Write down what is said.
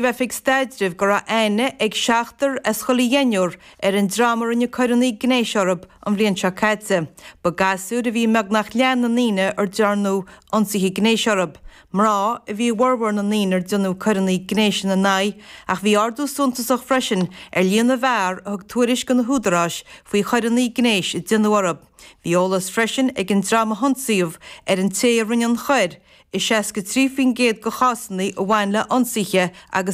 Oifig Staidrimh go raibh aithne ag seachtar as chuile dheichniúr ar an dream a rinne coireanna gnéis orthu an bhliain seo caite. Ba gasúir a bhí i mbeagnach leath na ndaoine ar dearnadh ionsaithe gnéis orthu. Mná a bhí i bhformhór na ndaoine ar déanadh coireanna gnéis ina n-aghaidh ach bhí ardú suntasach freisin ar líon na bhfear a thug tuairisc do na húdaráis faoi choireanna gnéis a déanadh orthu. Bhí eolas freisin ag an dream a hionsaíodh ar an té a rinne an choir i 63% de chásanna a bhain le hionsaithe agus.